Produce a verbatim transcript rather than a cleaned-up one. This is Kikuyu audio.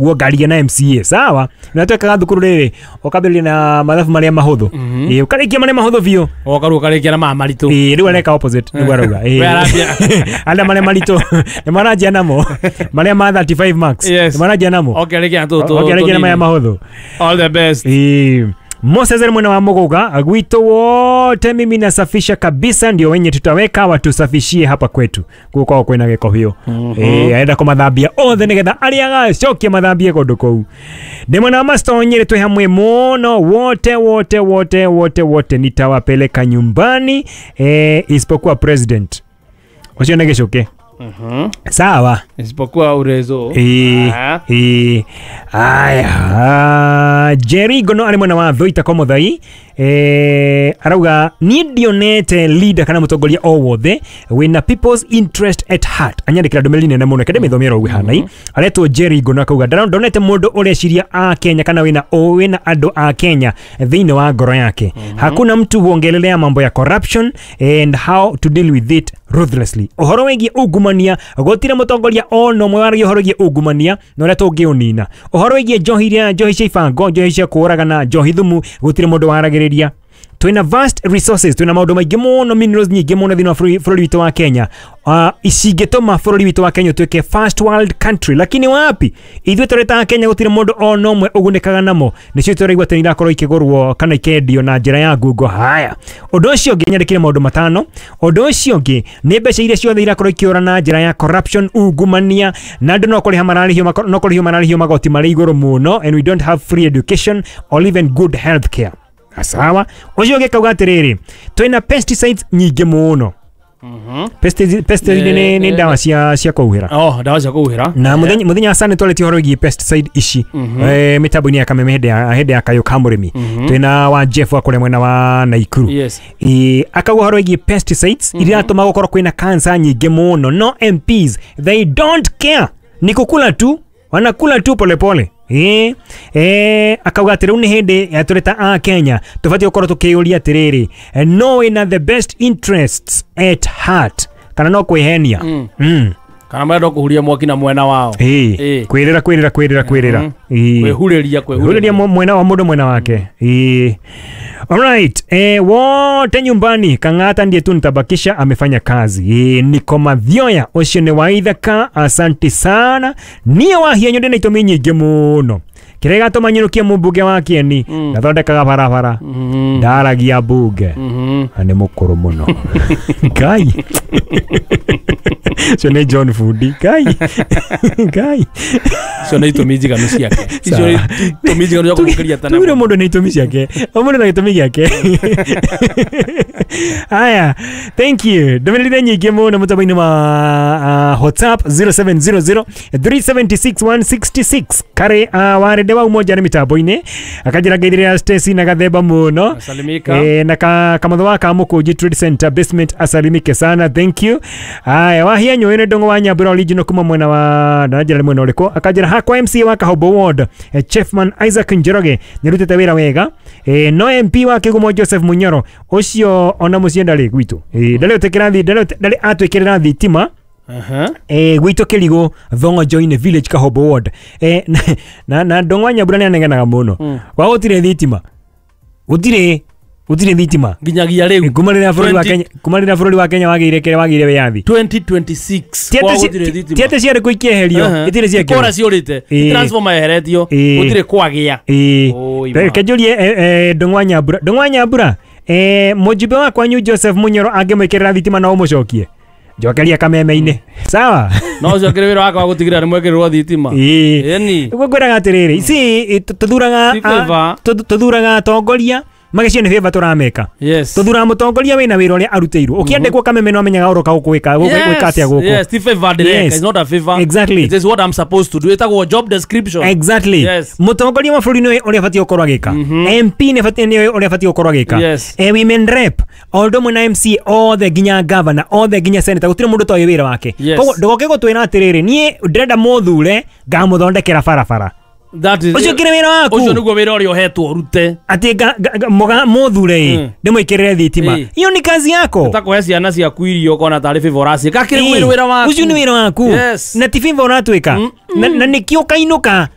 Guo ngaria na M C A sawa na twekaga thukuru riri ukambĩrĩria na mathabu marĩa mahũthũ ĩĩ ũkarĩkia marĩa mahũthũ biũ ũkaru ũkarĩkia na ma maritũ ĩĩ rĩu areka opposite nĩguo arauga ĩĩ anda marĩa maritũ nĩ maranjia namo marĩa ma thirty-five marks nĩ maranjia namo ũkarĩkia tũ tũ ũkarĩkia na marĩa mahũthũ. All the best. Ĩĩ Moses mwena wa Muguga gwito wote mimi nasafisha kabisa ndio wenye tutaweka watusafishie hapa kwetu guko kwina giko hiyo mm -hmm. Eh aenda kumathambia othe nigetha aria gacokie mathambie kundu kuu ndi mwena wa Master Nyeri twi hamwe muno wote wote wote wote wote nitawapeleka nyumbani eh isipokuwa president ucio nĩ gicuke. Mm-hmm. Sawa isipokuwa urezo eh eh aya Jerry Gono ari mwena wa Thuita kwa Muthai eh arauga ni ndionete leader kana mutongoria o wothe wina people's interest at heart anyandikira ndumiriri nene muno kende mithomero ugu hanai aretwo Jerry Gono akauga ndonete mundu ureciria a Kenya kana wina o wina andu a Kenya thiini wa ngoro yake. Mm-hmm. Hakuna mtu huongelelea mambo ya corruption and how to deal with it ruthlessly uhoro wigie ungumania gutire mutongoria ono mwe waragia uhoro wigie ungumania na uria tungiunina uhoro wigie njohi iria njohi cia ibango njohi cia kuragana njohi thumu gutire mundu waragiriria twina vast resources twina maundu maingi muno minerals nyingi muno thini wa bururi witu wa Kenya uh, icingituma bururi witu wa Kenya tuike first world country lakini wapi ithuĩ tũrĩ ta Kenya gutire mundu ona ũmwe ũgunĩkaga namo nicio tũraigua atĩ irakorwo ikĩgũrwo kana ikendio na njĩra ya ngungo. Haya ũndũ ũcio ũngĩ nyandĩkire maũndũ matano ũndũ ũcio ũngĩ nĩ mbeca iria ciothe irakorwo ikĩũra na njĩra ya corruption ungumania na andũ no kũrĩha mararĩhio no kũrĩhio mararĩhio magoti marĩ igũrũ mũno and we don't have free education or even good health care. Sawa ucio ũngĩ kauga atĩrĩrĩ twĩna pesticides nyingĩ mũno. Mhm. Pesticides pesticide nĩ nĩ ndawa cia cia kũhuhĩra. Oh, ndawa cia kũhuhĩra. Na mũthenya mũthenya wa Sunday twarĩtie ũhoro wĩgiĩ pesticide ici. Eh mĩtambo-inĩ ya Kameme hĩndĩ ya hĩndĩ ya kayũ ka mũrĩmi. Twĩna wa Jeff wa kũrĩa mwena wa Naikuru. Yes. Eh akauga ũhoro wĩgiĩ pesticides iria iratũma gũkorwo kwĩna cancer nyingĩ mũno. No M Ps they don't care. Ni kukula tu, wanakula tu polepole. Eh eh akauga atĩ rĩu nĩ hĩndĩ ya tũrĩ ta a Kenya tũbatiĩ gũkorwo tũkĩyũria atĩrĩrĩ no wĩna the best interests at heart kana no kwĩhenia. Mm. Mm. Kana marenda kũhuria mwaki na mwena wao. Eh kwĩrĩra kwĩrĩra kwĩrĩra kwĩrĩra. Eh kwĩhurĩria kwĩhurĩria mwena wa mũndũ mwena wake. Eh alright eh wote nyumbani Kang'ata ndiye tu nitabakisha amefanya kazi. Eh niko Mathioya ucio ni wa Ithaka asante sana niĩ wahia nyonde na itũmi nyingĩ mũno kĩrĩa gĩgatũma nyinũkie mũmbunge wa Kieni ndathondekaga barabara ndaragia mbunge na nĩ mũkũrũ mũno Ngai cio nĩ John Fundi Ngai Ngai cio nĩ itũmi njiganu ciake icio nĩ itũmi njiganu cia kũmũkĩria tene tugire mũndũ nĩ itũmi ciake o mũndũ na gĩtũmi gĩake. Haya thank you ndũmĩrĩri nyingĩ mũno mũtambo-inĩ wa uh, WhatsApp zero seven zero zero three seven six one six six kare uh, warende wa umoja nĩ mitambo-inĩ akanjĩra ngeithĩrĩra Stacy na gathemba mũno eh, na ka, kamotho wa Kamũkũnji Trade Center basement asalimike sana thank you. Haya wahia nyũĩ nĩ ndũng'ũ wa Nyambura original kuma mwena wa ndanjĩra nĩ mwena ũrĩkũ akanjĩra hakwa M C A wa Kahobo Ward eh, Chiefman Isaac Njoroge nĩarutĩte wĩra wega eh, no M P wa Kĩgumo Joseph Munyoro ũcio ona mũciĩ ndarĩ gwitũ eh, ndarĩ ũtĩkĩra thi ndarĩ atwĩkĩrĩra thitima. Uh-huh. Eh gwitũ Kĩrigũ Thongo-inĩ village Kahobo Ward eh na na ndũng'ũ wa Nyambura nĩanegenaga mũno mm. Kwa gũtirĩ thitima gũtirĩ gũtirĩ thitima nginyagia rĩu kuma rĩrĩa bũrũri wa Kenya kuma rĩrĩa bũrũri wa Kenya wagĩire kĩrĩa wagĩire wĩyathi twenty twenty-six kwa gũtirĩ thitima ti atĩ ciarĩ kũ ikĩeherio itirĩ ciekĩrwo kora ciũrĩte transformer yeheretio gũtirĩ kwagĩa. Reke njũrie ndũng'ũ wa Nyambura ndũng'ũ wa Nyambura eh mũjumbe wa kwanyu Joseph Munyoro angĩmwĩkĩrĩra thitima no ũmũcokie njokeria kameme-inĩ sawa no ũcio kĩrĩ wĩra wakwa wa gũtigĩrĩra nĩ mwekĩrĩrwo thitima. Ĩni nĩguo ngwĩraga atĩrĩrĩ ici tũthuraga tũthuraga atongoria magĩcio nĩ favor tũrameka. Yes. Tũthuraga mũtongoria wĩna wĩra ũrĩa arutĩirwo ũkĩandĩkwo kameme no amenyaga ũroka gũkwĩka gwĩka atĩa gũkũ. Yes, ti favor direct. It's not a favor. Exactly. It is what I'm supposed to do. Ĩtagwo job description. Exactly. Yes. Mũtongoria wa bũrũri nĩwe ũrĩa abatiĩ gũkorwo agĩka. M P nĩ abatiĩ nĩwe ũrĩa abatiĩ gũkorwo agĩka. Yes. Eh women rep o ũndũ ũmwe na M C othe nginya governor othe nginya senator gũtirĩ mũndũ ũtoĩ wĩra wake. Koguo ndũgoke gũtwĩra atĩrĩrĩ niĩ ndĩrenda mũthure ngamũthondekera barabara. That is ucio kire wira waku ucio niguo wira uria uhetwo urute ati muthure ndimwikirire thitima iyo ni kazi yako utakuhe ciana ciaku irio kona tari favor aci ka kire wira waku ucio ni wira waku yes. Na ti favor uratwika na nikio kainuka